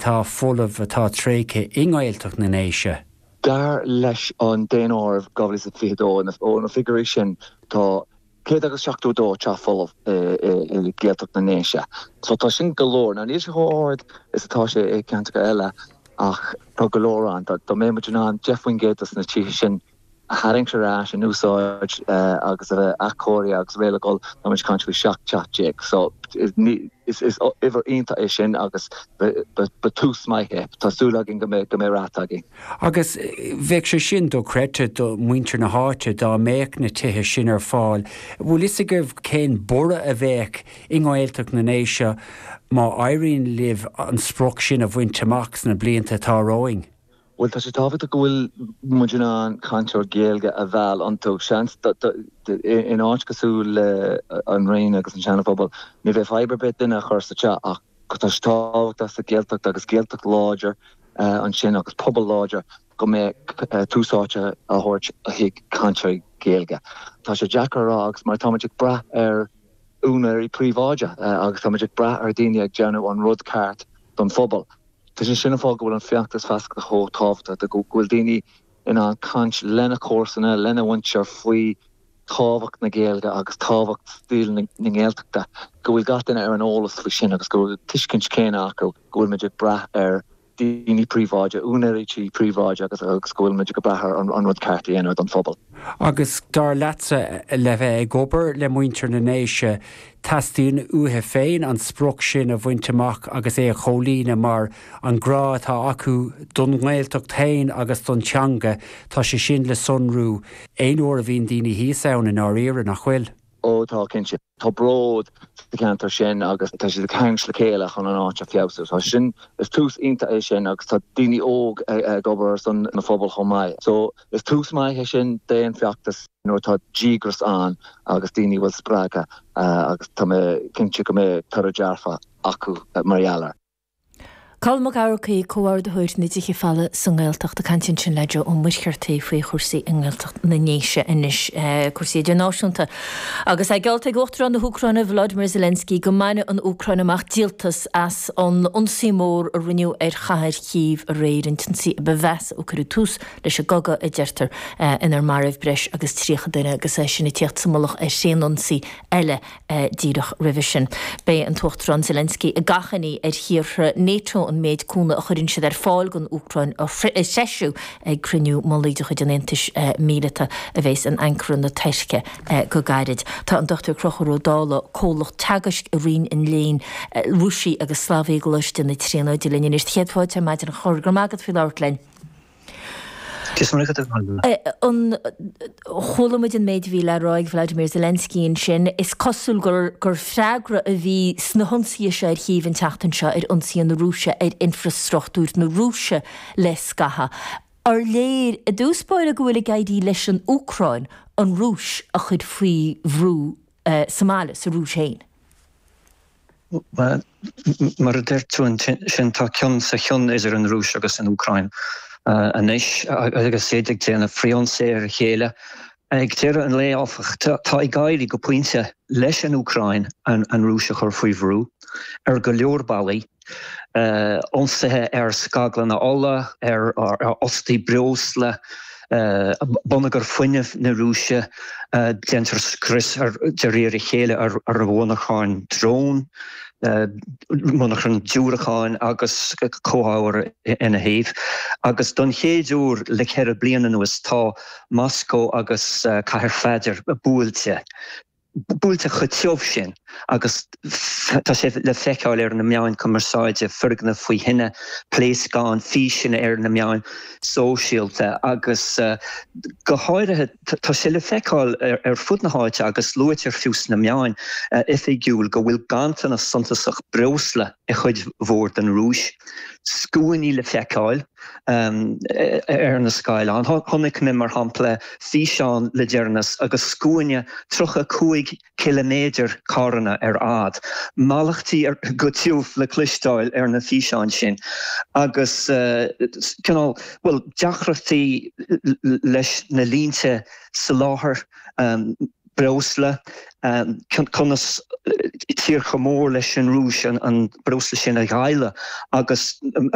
atá folamh, atá tréigthe i nGaeltacht na nDéise? Dar leis an Daonáireamh 2022, ó na figiúirí sin, tá 172 teach folamh i Gaeltacht na nDéise. So tá sin go leor. Now níl sé chomh ard is atá sé i gceantracha eile ach tá go leor ann. Dá mbeadh muid in ann 10% dos na tithe sin a tharraingt ar ais in úsáid agus a bheith athchóirithe agus réidh le dhul, tá muid ag caint faoi 17 teach. So is uimhir iontach é sin agus ba tús maith é. Tá súil againn go mbeidh go mbeidh rath againn. Agus bheadh sé sin dochreidte do mhuintir na háite dá mbeadh na tithe sin ar fáil. Bhfuil fhios agaibh cén borradh a bheadh i nGaeltacht na nDéise má éiríonn libh an sprioc sin a bhaint amach sna blianta atá romhainn? Bhuel, tá sé tábhachtach go bhfuil muid in ann cainteoir Gaeilge a mheall iontu. Seans, in áit cosúil le an Rinn agus an Seana Phobal, ní bheidh fadhb ar bith duine a chur sa teach ach tá sé tábhachtach sa Ghaeltacht agus Gaeltacht láidir ansin agus pobal láidir go mbeidh tús áite á thabhairt chuig cainteoirí Gaeilge. Tá sé deacair a rá agus mar tá muid ag brath ar úinéirí príobháideacha agus tá muid ag brath ar daoine ag déanamh an rud ceart don phobal. Tá sé sin an fáth go bhfuil an feachtas feasachta chomh tábhachtach, go bhfuil daoine in ann caint lena comharsana, lena mhuintir faoi tábhacht na Gaeilge agus tábhacht saol na nGaeltachta, go bhfuil gach duine ar an eolas faoi sin agus go bhfuil tuiscint chéanna acu go bhfuil muid ag brath ar daoine príobháideacha, úinéirí tí príobháideacha agus go bhfuil muid ag brath ar an rud ceart a dhéanamh don phobal. Agus dar leatsa, le bheith ag obair le muintir na nDéise, teastaíonn uathu féin an sprioc sin a bhaint amach agus é a chomhlíonadh mar an grá atá acu don nGaeltacht féin agus don teanga, tá sé sin le sonrú aon uair a bhíonn daoine thíos ann i ndáiríre, nach bhfuil? Ó tá, cinnte. Tá bród sa cheantar sin agus tá siad ag tarraingt le chéile chun an áit a feabhsú. Tá sin, is tús iontach é sin agus tá daoine óg ag obair ar son na phobal chomh maith. So is tús maith é sin d'aon feachtas nuair atá díograis ann agus daoine a bhfuil spreagtha agus tá mé cinnte go mbeidh toradh dearfach acu mar gheall air. Colm Mac Eamharcaigh, Comhordaitheoir na dTithe Folmha sa nGaeltacht, ag caint ansin le Joe Ó Muircheartaigh faoi chúrsaí i nGaeltacht na nDéise anois, cúrsaí idirnáisiúnta. Agus é geallta ag Uachtarán na hÚcráine Volodymyr Zelensky go mbainfidh an Úcráin amach díoltas as an ionsaí mór a rinneadh ar chathair Chív aréir, an t-ionsaí a ba mheasa ó cuireadh tús leis an gcogadh, a deirtear, inar maraíodh breis agus 30 duine agus é sin ag tíocht sa mullach ar thréanionsaí eile díreach roimhe sin. Beidh an tUachtarán Zelensky ag achainí ar thíortha NATO an méid cúnamh a chuireann siad ar fáil don Úcráin a threisiú ag cruinniú mullaigh de chuid an Aontais Míleata a bheas in Ankara na Tuirce go gairid. Tá an Dr Conchúr Ó Dálaigh, Comhlach Teagaisc i Roinn an Léinn Rúisigh agus Slavaigh i gColáiste na Tríonóide linn anois. Céad fáilte ar maidin a Chonchúir, go raibh maith agat faoi labhairt linn. An Chuala muid an méid a bhí le rá ag Vladimir Zelensky ansin. Is cosúil gur gur freagra a bhí sna hionsaithe seo ar Chív an tseachtain seo ar ionsaithe na Rúise ar infreastruchtúr na Rúise le scaitheamh. Ar léir i dtús báire go bhfuil ag éirí leis an Úcráin an Rúis a chur faoi bhrú sa mbaile, sa Rúis féin? Bhuel, mar a deir tú ansin, tá cion sa chion idir an Rúis agus an Úcráin anois agus iad ag déanamh frithionsaí ar a chéile. Ag deireadh an lae, áfach, tá ag éirí go pointe leis an Úcráin an Rúis a chur faoi bhrú ar go leor bealaí. ionsaithe ar scaglanna ola, ar fhostaí breosla, bonneagar fuinnimh na Rúise, déantar scrios de réir a chéile ar mhonarcháin drón, monarcháin diúracáin agus comhábhair ina thaobh. Agus don chéad uair le ceithre bliana anuas tá Moscó agus Cathair Pheadair buailte. buailte chomh tiubh sin agus tá sé le feiceáil ar na meáin cumarsáide, foirgnimh faoi thine, pléascáin, físeanna ar na meáin sóisialta agus go háirithe tá sé le feiceáil ar fud na háite agus luaitear fiú sna meáin oifigiúil go bhfuil ganntanas suntasach breosla i chuid mhór den Rúis. Scuainí le feiceáil. ar na scáileáin. Chonaic mé, mar shampla, físeán le deireanas agus scuaine 35 ciliméadar carranna ar fhad, mallachtaí go tiubh le cloisteáil ar na físeáin sin agus cineál, bhuel, deacrachtaí leis na línte soláthair breosla, conas tír chomh mór leis an Rúis an breosla sin a dháileadh agus.